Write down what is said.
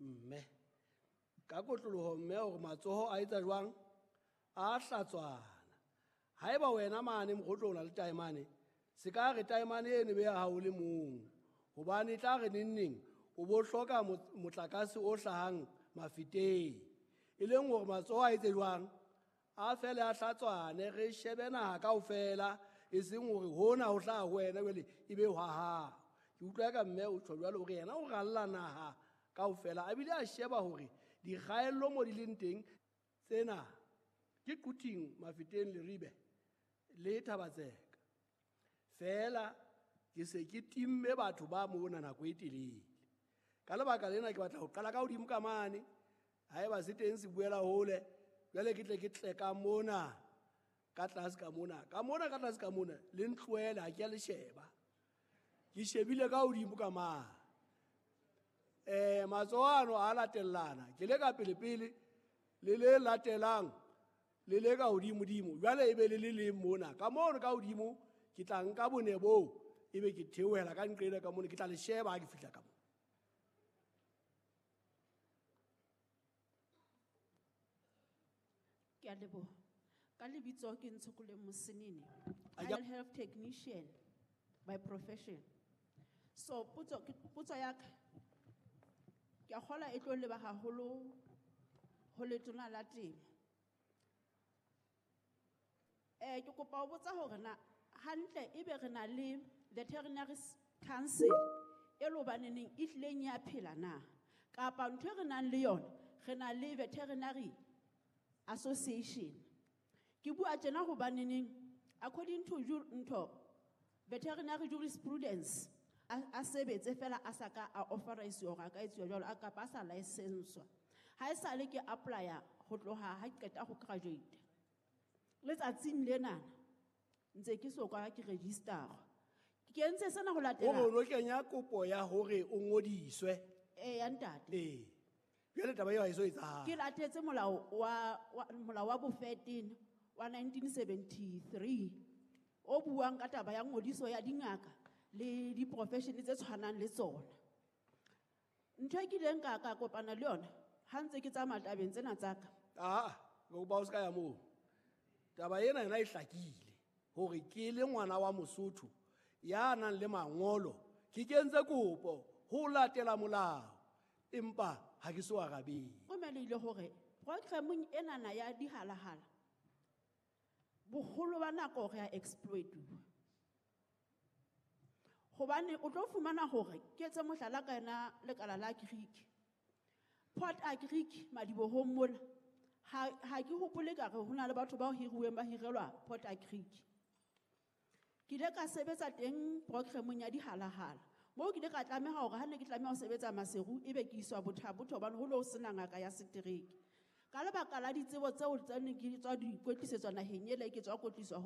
Mme ka kotloloho mme hore matsoho a etsa jwang, a hlatswana. Haeba wena mane Mokgotlong o na le taemane, se ka re taemane eno be ya hao le mong, hobane e tla re nengneng o bo hloka motlakase o hlahang Mafeteng, e leng hore matsoho a etse jwang, a fele a hlatswane, re shebe naha kaofela, e seng hore hona ho hlaha ho wena jwale e be hwa hao. Ke utlwa ka mme o tjho jwalo hore yena o ralla naha kaofela, a bile a sheba hore dikgaello mo di leng teng tsena ke Quthing, Mafeteng, Leribe le Thabatseka. Feela ke se ke timme batho ba mona nako e telele. Ka lebaka lena ke batla ho qala ka hodimo ka mane, haeba se teng se buela hole, jwale ke tle ke tle ka mona, ka tlase ka mona, ka mona ka tlase ka mona, le ntlohele ha ke a le sheba. Ke shebile ka hodimo ka mane. Matsoho ano a latellana, ke le ka pele-pele, le le latelang, le le ka hodimo-dimo, jwale e be le le leng mona. Ka mono ka hodimo, ke tla nka bone boo, ebe ke theohela ka nqena ka mona, ke tla le sheba ha ke fihla ka mona. Ke a leboha. Ka lebitso ke Ntshokoleng Mosenene. A I ja- am a health technician by profession. So potso ya ka, ke a kgolwa e tlo leba haholo ho letona la temo. Ke kopa ho botsa hore na hantle ebe re na le veterinary council e le hobaneneng e hlileng ya phela na, kapa ntho e re nang le yona re na le veterinary association. Ke bua tjena hobaneneng according to ntho veterinary jurisprudence a sebetse fela a sa ka a authorize hore a ka etsuwa jwalo, a kapa a sa licenswa. Ha e sale ke apply-a ho tloha ha ke qeta ho graduate. Letsatsing lena ntse ke so ka ke register. Ke entse sena ho latela. Hore o no kenya kopo ya hore o ngodiswe. Eh, ya ntate. Ee. Jwale taba eo ha e so etsahale. Ke latetse molao wa bofetene wa 1973 o buang ka taba ya ngodiso ya dingaka le di-profession tse tshwanang le tsona. Ntho e kileng ka kopana le yona ha ntse ke tsamaya tabeng tsena tsa ka. Ah, ke kopa o se ka ya moo. Taba ena yona e hlakile hore ke le ngwana wa Mosotho ya nang le mangolo, ke kentse kopo ho latela molao, empa ha ke so arabele. O melehile hore programmeng enana ya dihalahala boholo ba nako re a exploituwa. Hobane o tlo fumana hore ke etse mohlala ka yona lekala la Greek. Port a Greek madibohong mona ha ke hopole ka re ho na le batho ba hiruweng ba hirelwa Port a Greek. Ke ile ka sebetsa teng programmeng ya dihalahala. Moo ke ile ka tlameha hore ha ne ke tlameha ho sebetsa Maseru ebe ke iswa Botha-Bothe hobane ho ne ho sena ngaka ya setereke. Ka lebaka la ditsebo tseo tse neng ke tswa di kwetlisetswa naheng ele ke tswa kwetliswa ho